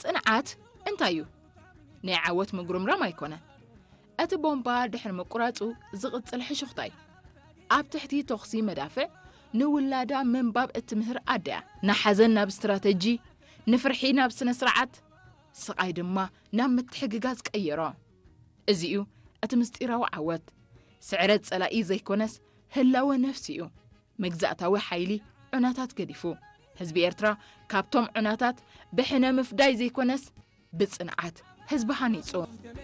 ጽንዓት እንታይ እዩ? ናይ ዓወት ምጉርምራም ኣይኮነን። እቲ ቦምባ ድሕሪ ምቁራጹ ዝቕጽል ሕሹኽታ እዩ። ኣብ ትሕቲ ተኹሲ መዳፍዕ ንውላዳ ምንባብ እትምህር ኣደ እያ። ንሓዘን ናብ ስትራተጂ፣ ንፍርሒ ናብ ስነ ስርዓት፣ ስቓይ ድማ ናብ ምትሕግጋዝ ቀየሮ። እዚ እዩ እቲ ምስጢራዊ ዓወት። ስዕረት ጸላኢ ዘይኮነስ ህላወ ነፍሲ እዩ። መግዛእታዊ ሓይሊ ዑናታት ገዲፉ፣ ህዝቢ ኤርትራ ካብቶም ዑናታት ብሕነ ምፍዳይ ዘይኮነስ ብጽንዓት ህዝቢ ሃኒጹ።